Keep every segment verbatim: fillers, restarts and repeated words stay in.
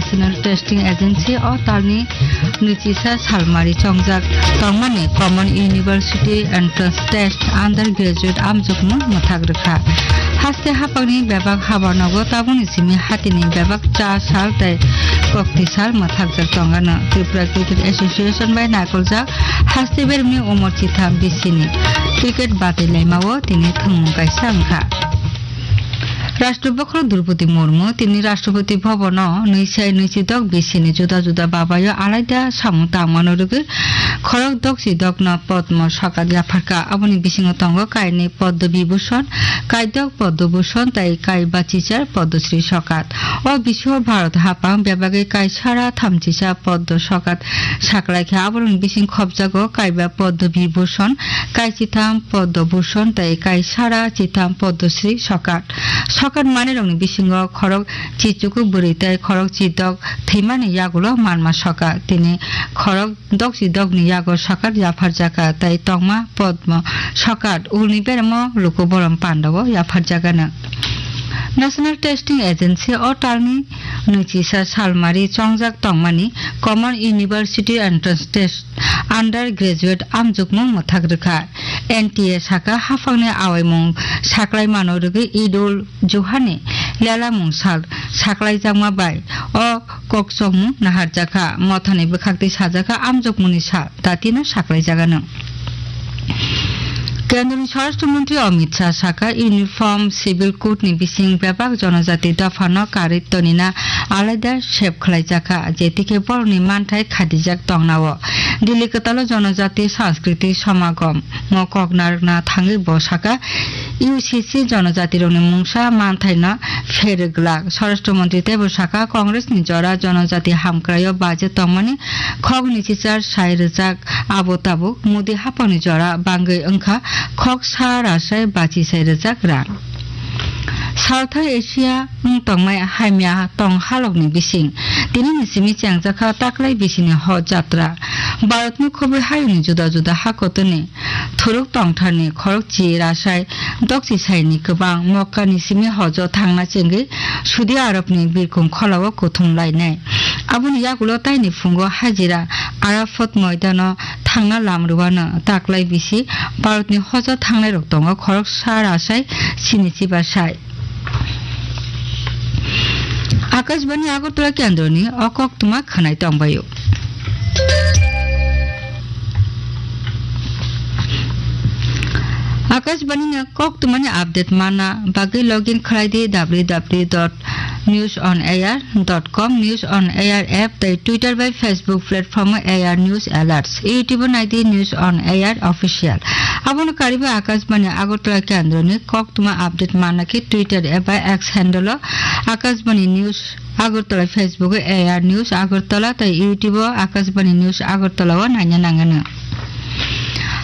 National Testing Agency o talni nwichisa salmari chongjak tongmani Common University Entrance Test undergraduate amjokmung mwthak rwkha. Haste haphangni bebak habanogo tabukni simi hatini bebak cha sal tei kokti sal mwthakjak tongano. Tripura Cricket Association bai naikoljak haste bermni umor chitham bisini cricket batwi laimao tini thwngmung kaisa wngkha. Rashtrapati Draupadi Murmu tini Rashtrapati Bhavan o nwi sai nwi chi dok bisini juda juda babayo alaida samung tangmano rwgwi khorok dok chi dokno Padma Sokat yapharkha. Aboni bisingo tongo kainwi Padma Vibhushan, kaidok Padma Bhushan tei kai bachichar Padma Shri Sokat. O bisio Bharat haphang bebagwi kai sara thamchisa Padma Sokat saklaikha. Aborokni bising khopjago kaiba Padma Vibhushan, kai chitham Padma Bhushan tei kai sara chitham Padma Shri Sokat. Sokat manwirokni bisingo khorok chichuku bwrwi tei khorok chidok thwimani yagulo manma soka. Tini khorok dokchi dokni yago sokat yapharjakha tei tongma Padma Sokat ulni beremo luku borom pandao yapharjagano. National Testing Agency o talni nwichisa salmari chongjak tongmani Common University Entrance Test undergraduate amjokmung mwthak rwkha. N T A saka haphangni awaimung saklai mano rwgwi Idul Juhani lelamung sal saklaijakma bai o kokchomung naharjakha. Mothani bwkhaktwi sajakha amjokmungni sal datino saklaijagano. Kendroni Swarashtra Mantri Amit Shah saka Uniform Civil Code ni bising bebak jonojati dophano karwi tonina alaida sep khlaijakha, jetikhe borokni manthai khadijak tongnao. Delhi kwtalo Jonojati Sanskriti Samagom mo kok narwkna thangwi bo saka, U C C jonojatirokni mungsa manthaino pherwglak. Swarashtra Mantri teibo saka, Congress ni jora jonojati hamkraio baje tongmani khok nwichichar sai rwjak, abo tabuk Modi haphangni jora bangwi wngkha khok sa rasai bachi sai rwjak rang. South Asia wng tongmai hamya tong halokni bising tinini simi chengjakha taklai bisini hor jatra. Bharatni khobwi hayungni juda juda hakotorni thuruk tongtharni khorokchi rasai dokchi saini kwbang Mokkani simi hojo thangna chengwi Saudi Arabni birkung kholao kuthum lainai. Aboni yagulo taini phungo hajira Arafat moidano thangna lam rwano taklai bisi Bharatni hojo thangnairok tongo khoroksa rasai sini chiba sai. Akashbani Agartala kendroni o koktwma khwnai tongbaio. Akashbani ni koktwmani update manna bagwi login khlai di w w w dot news on air dot com, News on Air app tei Twitter bai Facebook platform o A R News Alerts, YouTube o nai di News on Air Official. Abono kariba Akashbani Agartala kendroni koktwma update manna khe Twitter eba X handle o Akashbani News Agartala, Facebook o A R News Agartala tei YouTube o Akashbani News Agartala o naina nangano.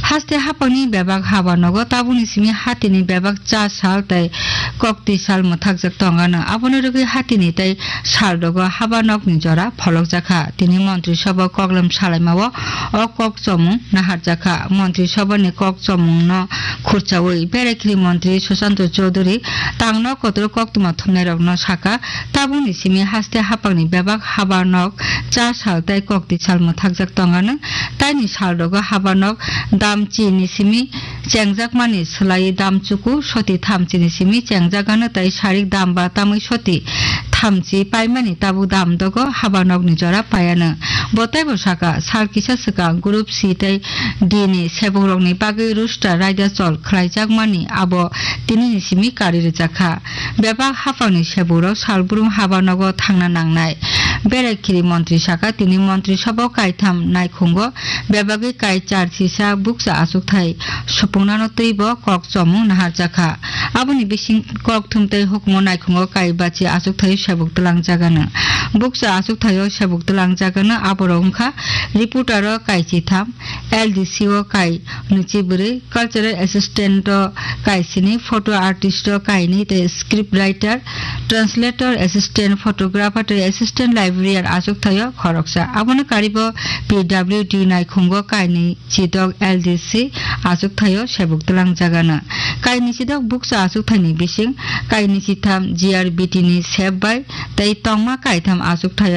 Haste haphangni bebak haba nogo tabukni simi hatini bebak cha sal tei kokti sal mwthakjak tongano. Abono rwgwi hatini tei sal rogo haba nokni jora pholokjakha. Tini Montri Sabha koklem salaimao o kok chomung naharjakha. Montri Sabhani kok chomungno khurchaui Berekhiri Montri Sushanta Chowdhury tangno kotor koktwma thumnairokno sakha, tabukni simi haste haphangni bebak haba nok cha sal tei kokti sal mwthakjak tongano. Taini sal rogo haba nok dam chini simi chengjakmani swlaiwi dam chuku soti thamchini simi chengjagano tei sarik dam ba tamwi soti thamchi paimani tabuk dam dogo haba nokni jora paiano. Bo teibo saka, sal kisa swkang Group C tei D ni sebukrokni bagwi roster raida chol khlaijakmani abo tinini simi kari rwjakha. Bebak haphangni sebukrok salbrum haba nogo thangna nangnai. Berekhiri Montri saka, tini Montri Sabha o kaitham naikhungo bebagwi kai char sisa bukcha achukthai supungnano twibo kok chomung naharjakha. Aboni bising kok thum tei hukumu naikhungo kai bachi achukthai sebuk twlangjagano. Bukcha achukthai o sebuk twlangjagano aborok wngkha reporter o kai chitham, L D C o kai nwichi bwrwi, cultural assistant o kai sini, photo artist o kai ni tei script writer, translator, assistant photographer tei assistant librarian achukthai o khoroksa. Abono karibo P W D naikhungo kai ni chidok L D C achukthai o sebuk twlangjagano. Kai ni chidok bukcha achukthai ni bising kai ni chitham G R B T ni sep bai tei tongma kaitham achukthai o